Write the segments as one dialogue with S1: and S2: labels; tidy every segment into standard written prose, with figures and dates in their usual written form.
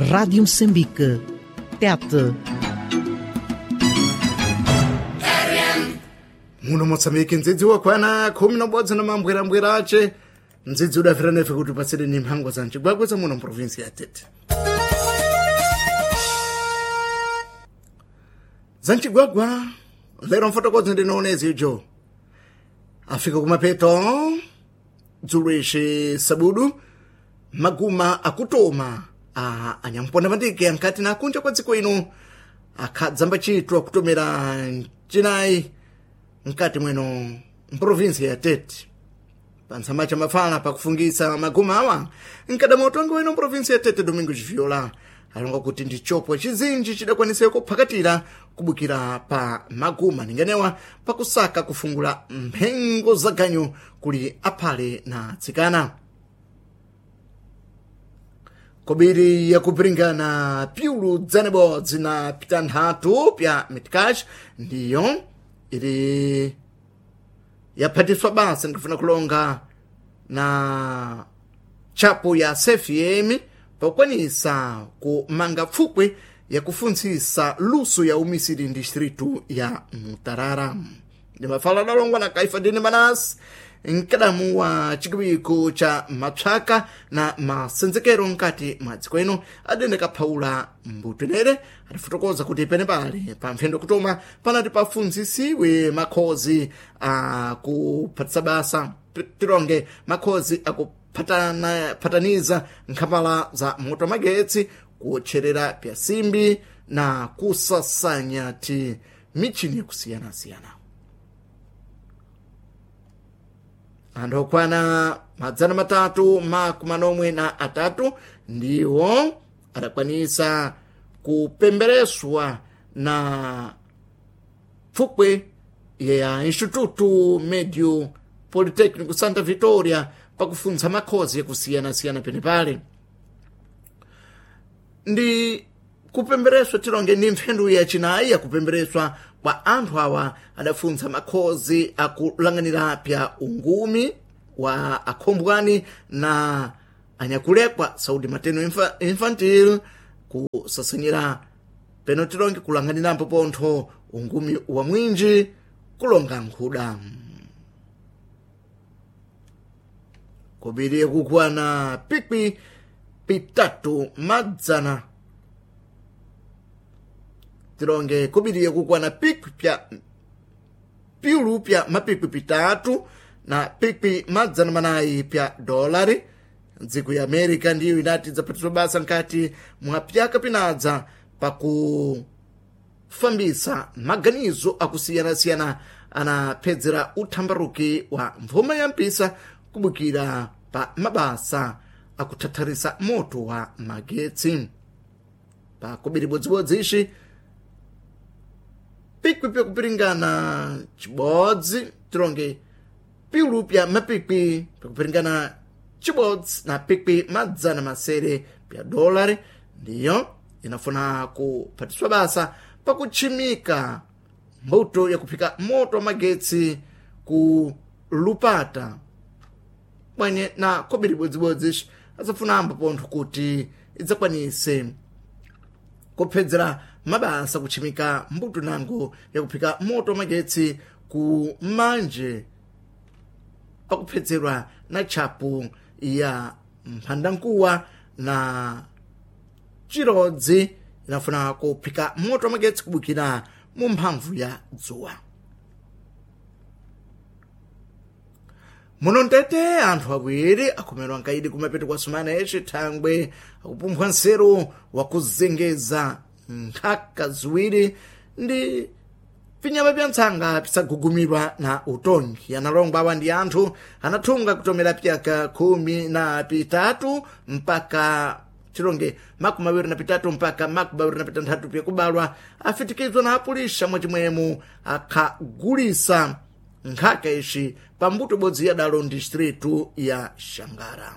S1: Rádio Moçambique, TET.
S2: Muno Moçambique ndzidzi wakwana 11 na mambwerambwera ace mdzidzi udafira nefe kuti upatsire ni mphango za mcigwagwe za muno mprovinsi ya Tete. Za mcigwagwa lero mfotokozi ndinoonezi ijo afika kumapeto dzulo ici sabudu maguma akutoma a anyamponda mandike ankati na akunja kwa dziko ino akhadzamba chitwa kutomera mcinayi mkati mweno mprovinsi ya Tete. Pantsamba cha mafala pakufungisa maguma awa mkadama utongi weno mprovinsi ya Tete Domingo Viola alonga kuti ndi chopwa chizinji chidakwanise kuphakatira kubukira pa maguma ninganewa pakusaka kufungula mphengo za ganyu kuli aphale na atsikana. Kobiri yakupiringana piulu dzanebodzi na pitanthatu pya mitcash ndiyo ili yaphatiswa basa ndikufuna kulonga na chapo ya CFM pakukwanisa kumanga pfukwe yakufuntsisa luso ya umisiri distritu ya Mutarara. Ndi mafala adalongwa na Kaifa Dini Manasi mkadamu wa chikiwiko cha mapsaka na masenzekero mkati mwa dziko ino adene kaphaula mbutenere atifotokoza kuti pene pali pa mphendo kutoma panati pafunzisiwe makhozi akuphatisa basa tilonge makhozi akuphataniza nkhapala za moto magetsi kuotcherera pyasimbi na kusasanya ti michini yakusiyanasiyana. Anthu okwana 343 ndiwo adakwanisa kupembereswa na pfukwe ya Instituto Medio Politécnico Santa Vitória pakufuntsa makhozi yakusiyanasiyana penepale. Ndi kupembereswa tilonge ndi mphendu yacinayi yakupembereswa kwa anthu awa adafuntsa makhozi akulanganira pya ungumi wa akhombwani na anyakulekwa saudi mateno infantil kusasanyira peno tilonge kulanganirampo pontho ungumi wa mwinji kulonga nkhuda. Kobiri kukwana pikwi pitatu madzana tilonge kubiriye kukwana pikwi pya piulu pya mapikwi pitatu na pikwi 400 pya dolari. Dziko ya America ndiyo inati idzaphatidwa basa nkati mwa pyaka pinadza pakufambisa maganizo akusiyanasiyana anaphedzera uthambaruki wa mvuma ya mpisa kubukira pa mabasa akuthatharisa moto wa magetsi. Pakubiri bodzibodzi ici pikwi pyakupiringana chibodzi tilonge piulu pya mapikwi pyakupiringana chibodzi na pikwi 600 pya dolari ndiyo inafuna kuphatiswa basa pakutchimika mbuto yakuphika moto wa magetsi ku Lupata bwenye na kobiri bodzibodzi ici azafuna ambo pontho kuti idzakwanise kuphedzera mabasa kutchimika mbuto nango yakuphika moto wa magetsi ku manje pakuphedzerwa na tchapu ya mphandankuwa na chirodzi inafuna kuphika moto wa magetsi kubukira mu mphamvu ya dzuwa. Muno mtete anthu awiri akhomerwa nkaidi kumapeto kwa sumana yaci thangwe akupumphwa nseru wakuzengeza nkhaka ziwiri ndi pinyama pya ntsanga pisagugumirwa na utongi. Analongwa awa ndi anthu anathunga kutomera pyaka 13 mpaka tilonge 23 mpaka 26 pyakubalwa afitikizwa na apulisha mwachimwemu akhagulisa nkhaka ici pambuto ibodzi ya dalo distritu ya Xangara.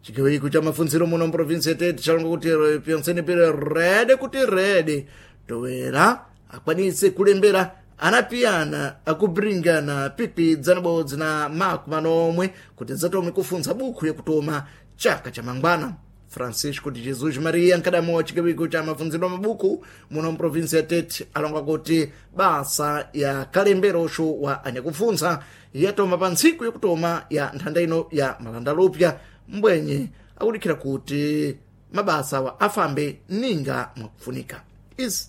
S2: Chikiwiko cha mafunziro muno mprovinsi ya Tete chalonga kuti pyonseni pire rede kuti rede towera akwanise kulembera anapiyana akubringana pikwi 107 kuti dzatome kufuntsa bukhu yakutoma Chaka cha mangwana, Francisco de Jesus Maria, nkadamo wa chigawiko cha mafunziro mabuku muno mprovinsi ya Tete, alonga kuti basa ya kalemberosho wa anyakufunza yatoma pa ntsiku yakutoma ya nthanda ino ya malandalupya, mbwenye akudikhira kuti mabasa wa afambe ninga mwakufunika. Izi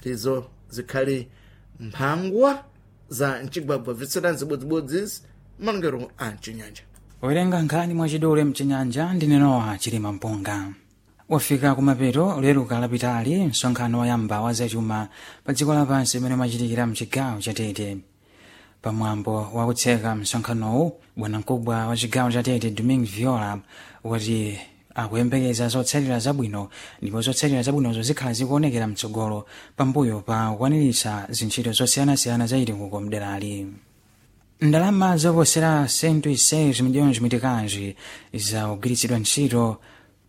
S2: ndizo zikhali mphangwa za mcigwagwa bvetserani zibodzibodzi malongero a mcinyanja.
S3: Werenga nkhani mwachidule mchinyanja ndi Nowa Chilima Mpunga. Wafika kumapeto loweruka lapitali msonkhano woyamba wa zachuma pa dziko lapansi umene umachitikira mchigawo cha Tete. Pamwambo wakutseka msonkhanowu, bwanamkubwa wa chigawo cha Tete Domingo Viola wati akuyembekeza zotsatira zabwino, ndipo zotsatira zabwinozo zikhala zikuonekera mtsogolo pambuyo pa kukwaniritsa zintchito zosiyanasiyana za chitukuko mderali. Ndalama zoposera 106 milhões mitikanji zakugwiritsidwa ntchito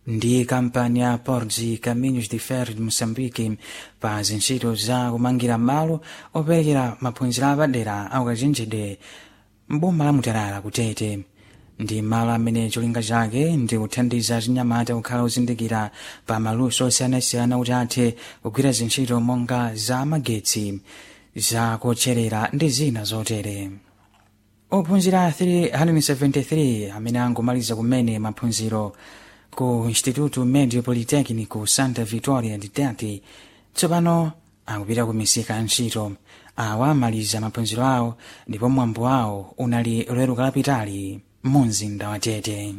S3: ndi kampani ya Portos e Caminhos de Ferro de Moçambique pa zintchito za kumangira malo operekera maphunziro apadera aukachenjede mboma la Mutarara kutete. Ndi malo amene cholinga chake ndi kuthandiza chinyamata kukhala ozindikira pa maluso osiyanasiyana kuti athe kugwira zintchito monga za magetsi, za kotcherera ndi zina zotere. Ophunzira 373 amene angomaliza kumene maphunziro ku Instituto Medio Politecnico Santa Victoria de Tete tsopano akupita ku misika ya ntchito. Awa amaliza maphunziro awo ndipo mwambo wawo unali loweruka lapitali mu mzinda wa Tete.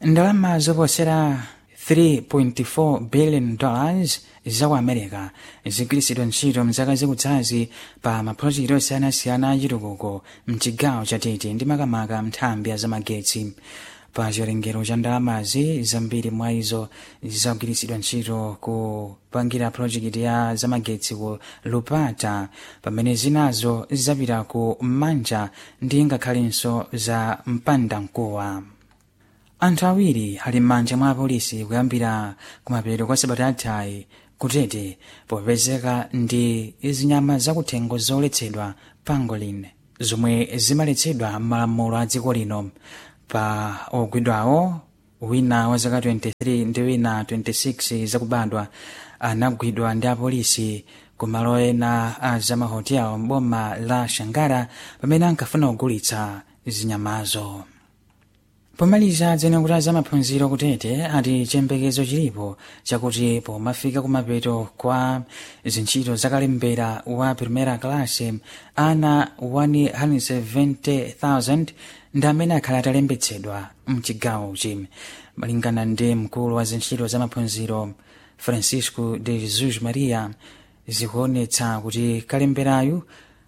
S3: Ndalama zoposera 3.4 billion dollars za ku America zigwiritsidwa ntchito mzaka zikudzazi pa maprojekiti osiyanasiyana achitukuko mchigawo cha Tete ndi makamaka nthambi ya zamagetsi. Pa chiwerengero cha ndalamazi, zambiri mwa izo zagwiritsidwa ntchito kupangira projekiti ya zamagetsi ku Lupata, pamene zinazo zapita ku Manja ndi ngakhalenso za Mpandamkuwa. Anthu awiri ali m'manja mwa apolisi kuyambira kumapeto kwa sabata yathayi kutete popezeka ndi zinyama zakuthengo zoletsedwa, pangolin, zomwe zimaletsedwa m'malamulo a dziko lino. Pa ogwidwawo, wina wa zaka 23 ndi wina 26 zakubadwa anagwidwa ndi apolisi kumalo ena a zamahotel m'boma la Shangara pamene ankafuna kugulitsa zinyamazo. Pomaliza, dzenekuti za maphunziro kutete ati chiyembekezo chilipo chakuti pomafika kumapeto kwa zintchito zakalembera wa primera class, ana 170,000 ndi amene akhala atalembetsedwa mchigawochi. Malingana ndi mkulu wa zintchito za maphunziro Francisco de Jesus Maria, zikuonetsa kuti kalemberayu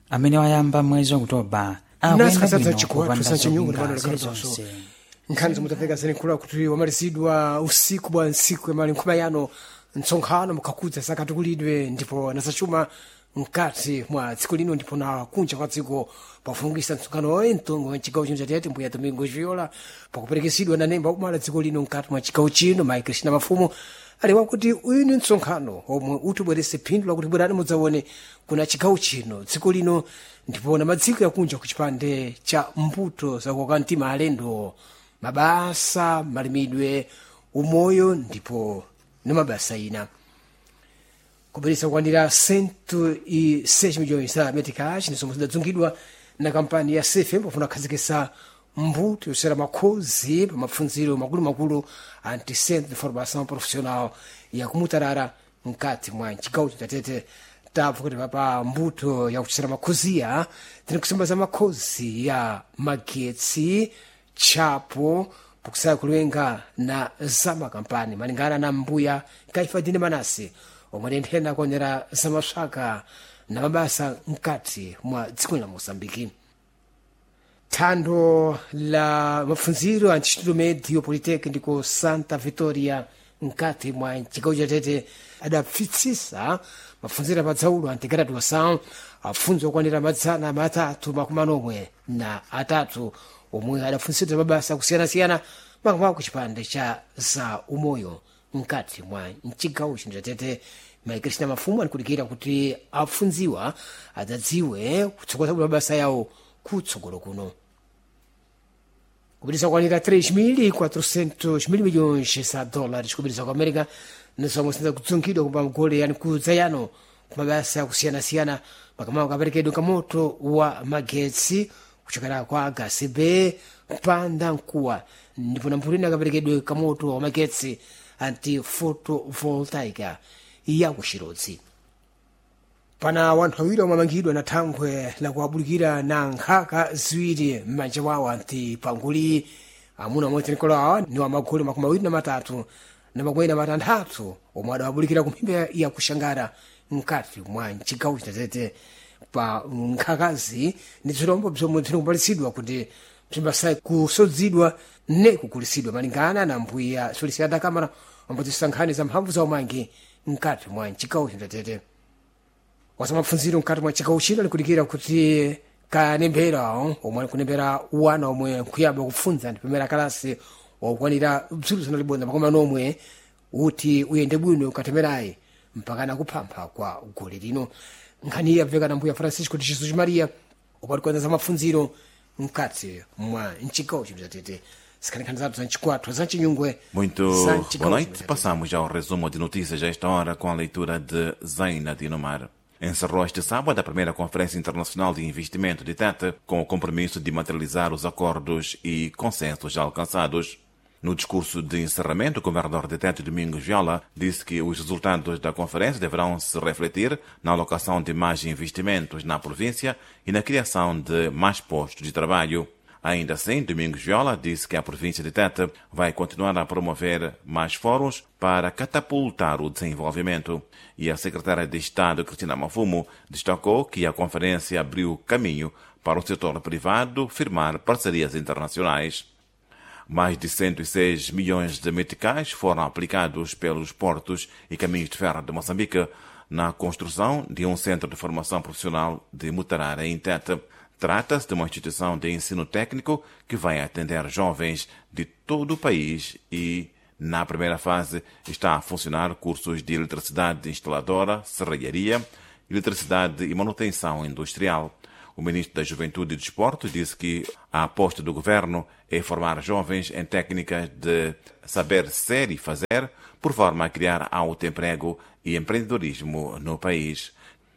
S3: amene wayamba mwezi Okutoba akuyenda bwino kupanda zopinga zilizonse.
S4: Nkhani zomwe tafika zinenkhula kuti wamalizidwa usiku bwa ntsiku yamali nkhuma yano mtsonkhano mukhakudza zakatukulidwe ndipo nasachuma mkati mwa dziko lino ndipo na kunja kwa dziko. Pafungisa mtsonkhano oyi mtongo wa chigawo chino chatete mbuya Domingo Viola, pakuperekesidwa na nemba umala dziko lino mkati mwa chigawo chino Mai Kristina Mafumo, ali wakuti uyu ni mtsonkhano omwe utibwerese phindu lakuti bwerani mudzaone kuna chigawo chino, dziko lino ndipo na madziko yakunja ku chipande cha mbuto zakukoka mtima alendo, mabasa, malimidwe, umoyo ndipo na mabasa ina. Kubweresa kukwanira 106 milhões za meticais ndizomwe zidadzungidwa na kampani ya CFM pofuna kukhazikitsa mbuto yosera makhozi pa mapfundziro makulumakulu a anticentro de formação profissional ya kumutarara mkati mwa chigawo chatete. Tabva kuti papa mbuto yakuchesera makhoziya tini kusimba za makhozi ya magetsi, tchapo pokusaya kulenga na zamakampani, malingana na mbuya Kaifadini Manase omwe adenthena kuonera zamaswaka na mabasa mkati mwa dziko la Moçambike. Thando la mapfundziro a Instituto Medio Politecnico Santa Vitória mkati mwa chigawo chatete adapfitsisa mapfundziro apadzaulu a antigraduação apfundzo okwanira 373 omwe adapfunsidwa mabasa akusiyanasiyana makamaka ku chipande cha za umoyo mkati mwa mchigawo chino chatete. Mai Kristina Mafumu alikudikira kuti apfundziwa adzadziwe kutsogoza bwino mabasa yawo kutsogolo kuno. Kupitisa kwanira 3.400 mil milhões za dólares kupitisa ku America nisomwe sinza kudzungidwa kumba mgole yani kudzayano kumabasa akusiyanasiyana makamaka kaperekedwe kamoto wa magetsi kuchokera kwa gasibe mpanda mkuwa ndipo nampulina kaperekedwe kamoto wa magetsi anti photovoltaica ya kuchirodzi. Pana wanthu awiri omwe amangidwa na thangwe lakuabulikira na nkhaka ziwiri m'manja mwawo anti panguli. Amuna amodzi nikolo awa ni wa magulu 23 na 46 omwe adawabulikira ku mphimba ya kuxangara mkati mwa mcigawo citete. Pa nkhakazi ni bzirombo bzomwe bzinikumbalitsidwa kuti bzimbasayi kusodzidwa ne kugulisidwa malingana na mbuya Solicitata Kamara ambozisa nkhani za mphamvu za umangi mkati mwa mcigawo citete. Wasamapfunziro mkati mwa chigawo chino likudikira kuti kanembera omwe alikunembera wana omwe nkuyamba kupfunza ndi pamene akalasi wakukwanira bzulu zana libodzi makumi anomwe uti uyende bwino katemerayi mpakana kuphampha kwa gole lino. Nkhani iyi yabveka na mbuya Francisco de Jesus Maria upati za mapfunziro mkati mwa mchigawo chino chatete. Sikhaninkhani zathu za mchikwathu za mchinyungwe.
S5: Muito
S4: za
S5: boa
S4: mchigawo
S5: noite.
S4: chino chatete.
S5: Passamos ao resumo de notícias a esta hora com a leitura de Zaina Dinomar. Encerrou este sábado a primeira Conferência Internacional de Investimento de Tete, com o compromisso de materializar os acordos e consensos já alcançados. No discurso de encerramento, o governador de Tete, Domingos Viola, disse que os resultados da conferência deverão se refletir na alocação de mais investimentos na província e na criação de mais postos de trabalho. Ainda assim, Domingos Viola disse que a província de Tete vai continuar a promover mais fóruns para catapultar o desenvolvimento. E a secretária de Estado, Cristina Mafumo, destacou que a conferência abriu caminho para o setor privado firmar parcerias internacionais. Mais de 106 milhões de meticais foram aplicados pelos portos e caminhos de ferro de Moçambique na construção de um centro de formação profissional de Mutarara, em Tete. Trata-se de uma instituição de ensino técnico que vai atender jovens de todo o país e, na primeira fase, está a funcionar cursos de eletricidade instaladora, serralharia, eletricidade e manutenção industrial. O ministro da Juventude e Desporto disse que a aposta do governo é formar jovens em técnicas de saber ser e fazer, por forma a criar autoemprego e empreendedorismo no país.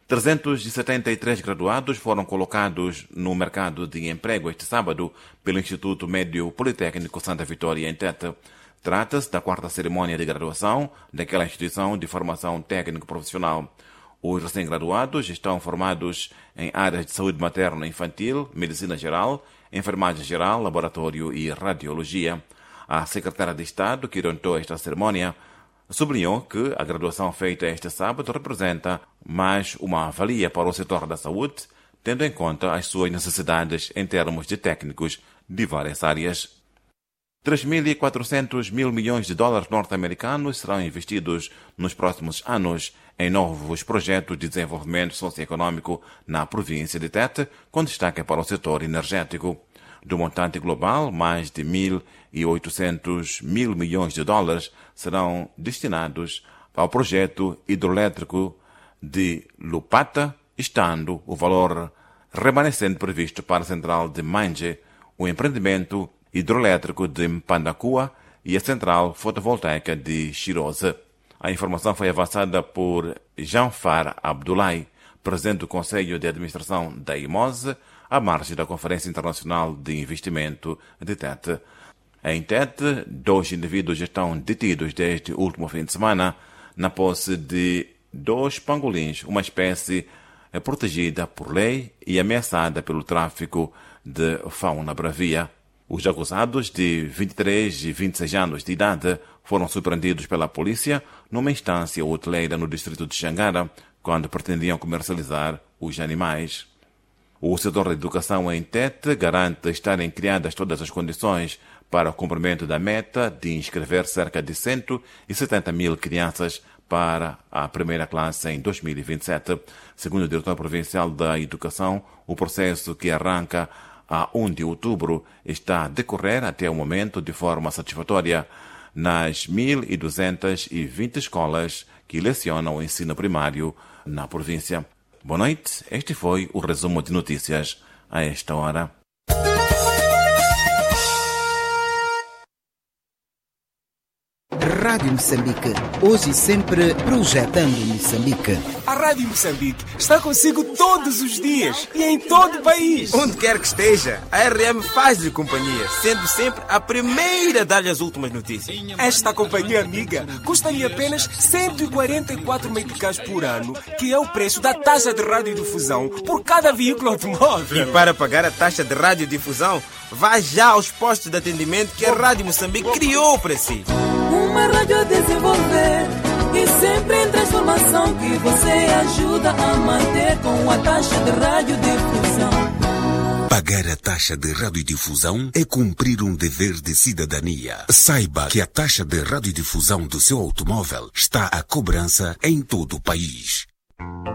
S5: 373 graduados foram colocados no mercado de emprego este sábado pelo Instituto Médio Politécnico Santa Vitória em Tete. Trata-se da quarta cerimônia de graduação daquela instituição de formação técnico-profissional. Os recém-graduados estão formados em áreas de saúde materna e infantil, medicina geral, enfermagem geral, laboratório e radiologia. A secretária de Estado, que orientou esta cerimônia, sublinhou que a graduação feita este sábado representa mais uma valia para o setor da saúde, tendo em conta as suas necessidades em termos de técnicos de várias áreas. 3.400 mil milhões de dólares norte-americanos serão investidos nos próximos anos em novos projetos de desenvolvimento socioeconômico na província de Tete, com destaque para o setor energético. Do montante global, mais de 1.800 mil milhões de dólares serão destinados ao projeto hidroelétrico de Lupata, estando o valor remanescente previsto para a central de Manje, o empreendimento hidroelétrico de Mpandakua e a central fotovoltaica de Chirosa. A informação foi avançada por Janfar Abdullahi, presidente do Conselho de Administração da IMOSE, à margem da Conferência Internacional de Investimento de Tete. Em Tete, dois indivíduos estão detidos desde o último fim de semana na posse de dois pangolins, uma espécie protegida por lei e ameaçada pelo tráfico de fauna bravia. Os acusados, de 23 e 26 anos de idade, foram surpreendidos pela polícia numa instância hoteleira no distrito de Xangara, quando pretendiam comercializar os animais. O setor da educação em Tete garante estarem criadas todas as condições para o cumprimento da meta de inscrever cerca de 170 mil crianças para a primeira classe em 2027. Segundo o diretor provincial da Educação, o processo que arranca a 1 de outubro está a decorrer até o momento de forma satisfatória nas 1.220 escolas que lecionam o ensino primário na província. Boa noite, este foi o resumo de notícias a esta hora.
S1: Rádio Moçambique, hoje e sempre projetando Moçambique.
S6: A Rádio Moçambique está consigo todos os dias e em todo o país.
S7: Onde quer que esteja, a RM faz-lhe companhia, sendo sempre a primeira a dar-lhe as últimas notícias.
S6: Esta companhia amiga custa-lhe apenas 144 meticais por ano, que é o preço da taxa de radiodifusão por cada veículo automóvel.
S7: E para pagar a taxa de radiodifusão, vá já aos postos de atendimento que a Rádio Moçambique criou para si.
S8: Uma rádio a desenvolver e sempre em transformação que você ajuda a manter com a taxa de radiodifusão.
S9: Pagar a taxa de radiodifusão é cumprir um dever de cidadania. Saiba que a taxa de radiodifusão do seu automóvel está à cobrança em todo o país.